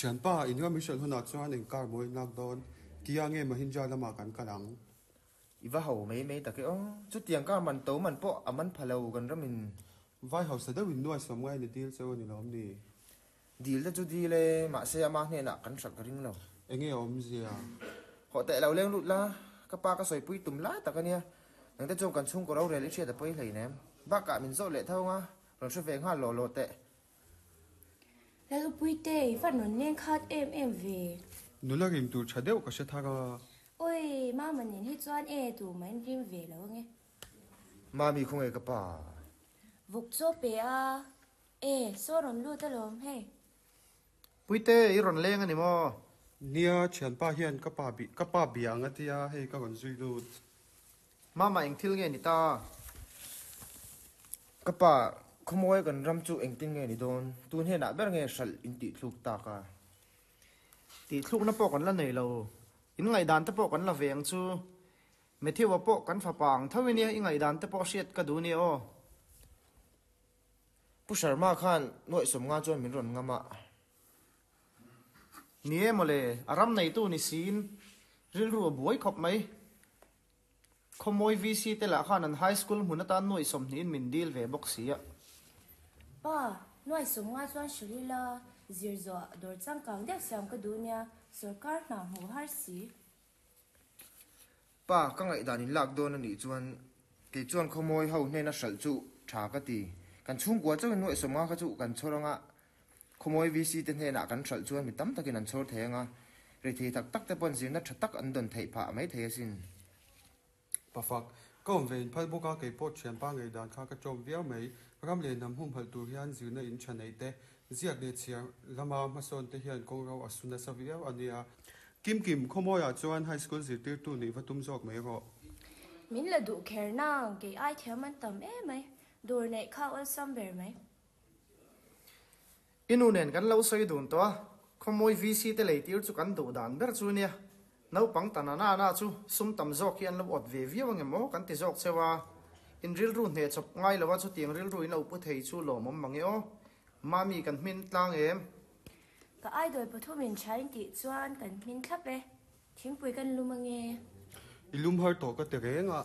Thianpa, in ram i hralh hunah chuan eng car maw in lak dawn? Kia nge Mahindra lamah kan kal ang? I va ho mai mai tak e aw. Chutiang car man to man pawh a man pha lo kan ramin. Vai hausa deuh in nuai sawm ngai ni dil cheu a ni lawm ni? Dil te chu dil e, mahse ama hnenah kan hralh ka ring lo. Enge a awmzia? Hawh teh lo leng lut la, ka pa ka sawipui tum lai tak a nia. Nangte chuan kan chhungkaw rorel i hriat a pawi hleinem. Bakah min zawh leh tho anga, rawn hre ve nghal lawh lawh teh. Lalpuite, i va rawn leng khat em em ve. Nula rim tur tha deuh ka hre thar a. Oi, Mama nen hi chuan e tu mah in rim ve lo ange. Mami khawnge ka pa? Vawk chaw pe a. E, saw rawn lut alawm hei. Puite, i rawn leng a ni maw? Nia, thianpa hian ka pa bi, ka pa bia ang a tia, hei ka rawn zui lut. Mama eng thil nge ni ta? Ka pa, khawmawi kan ram chu engtin nge ni dawn? Tun hnenah ber nge hralh in tih thluk tak a? Tih thlukna pawh kan la nei lo. In ngaihdan te pawh kan la ve ang chu. Matthew-a pawh kan fapa ang tho i nia, i ngaihdan te pawh hriat ka duh nia aw. Pu Sharma khan nuaih sawmnga chuan min rawn ngam a. Ni e mawle, a ram neitu ni siin rilru a buai khawp mai. Khawmawi VC te lah khan an High School hmun atan nuaih sawmhnihin min dil ve bawk si a. Pa, nuaih sawmnga chuan hrilh ila, zir zawh dawr changkang deuh siam ka duh nia, sawrkar hna hmuh har si. Pa, ka ngaihdan in lak dawn a nih chuan kei chuan khawmawi ho hnena hralh chu tha ka ti. Kan chhungkua chauhin nuaih sawmnga kha chu kan chhawr anga Khawmawi VC te hnenah kan hralh chuan mi tam takin an chhawr thei anga, rethei tak tak te pawn zirna tha tak an dawn theih phah mai thei asin. Pafak, ka awm ve in phal bawk a, kei pawh thianpa ngaihdan kha ka ṭawm viau mai. Ram leh hnam humhalh tur hian zirna in tha neih te, ziak leh chhiar lama hmasawn te hian kawngro a su nasa viau a nia. Kim Kim, Khawmawiah chuan High School zirtirtu nih va tum zawk mai rawh. Min la duh kher nang, kei ai thiam an tam em mai. Dawr neih kha awlsam ber mai. I nu nen kan lo sawi dun tawh a, khawmawi VC te lei tir chu kan duh dan ber chu nia. Naupang ta na na chu sum tam zawk hi an lo awt ve viau ange maw kan ti zawk cheu a. In rilru hneh chawp ngai lo a chutiang rilru in lo pu thei chu lawmawm mange aw. Mami kan hmin tlang em? Ka idol pathumin tha in tih chuan kan hmin thlap e. Thingpui kan lum ange. I lum har tawh ka ti reng a.